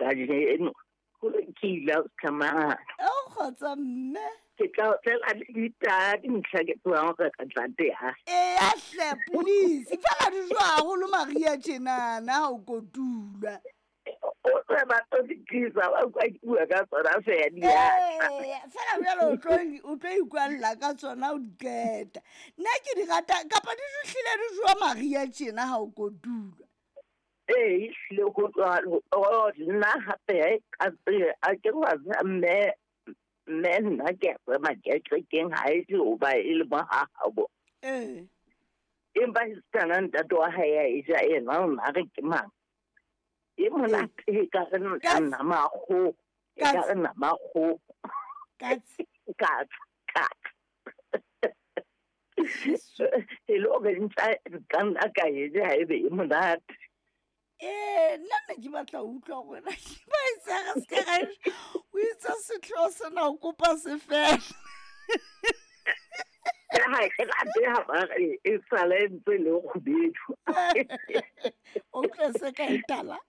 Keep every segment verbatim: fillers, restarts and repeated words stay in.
kajeno. Ho lokile o tsamaya. O kgotsa mme. Ke tla o tlela le ditaba dintlha ke tsebang hore re tla teha. Eya hle please. Fela di jowa haholo mariha tjenana ha o kotulwa. O tse ba tlo di tlisa ba utlwa ke bua ka tsona feela di a tla. Eya, fela jwale o tlo o tlo ikwalla ka tsona o di qeta. Nna ke di rata kapa di hlile di jowa mariha tjena ha o kotulwa. Ee, ehlile ho jwalo. Oh, nna hape ka tsebe a ke wa tseba mme mme nna ke a tseba kerekeng ha e tle hoba e le mo ha habo. Ee. Empa esitana ntate wa hae a e ja yena o na re ke mang. E monate e ka re Katse. nama ya kgoho, e ka Katse. re nama ya kgoho. Katse. Katse, katse. E le hore ntja ka nna ka e ja haebe e monate. Ee, nna ne ke batla ho utlwa hore na ke ba e tsa re se ka ra e ja. O itse sehlooho sena o kopa se fele. Ha ke rate ha ba re e sale e ntse e le kgubedu. O utlwa se ka e tala.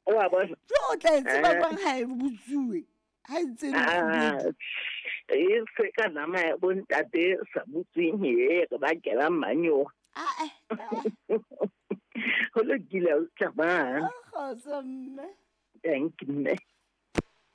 Wa bona? Jo o tla e tseba Eh. jwang ha e butsuwe? Ha e ntse e le Ah, kgubedu. e se ka nama ya bontate e sa butsweng e re bakela manyowa. Ah, eh, ah. Ho lokile o tsamaya. O kgotsa mme. Thank you mme.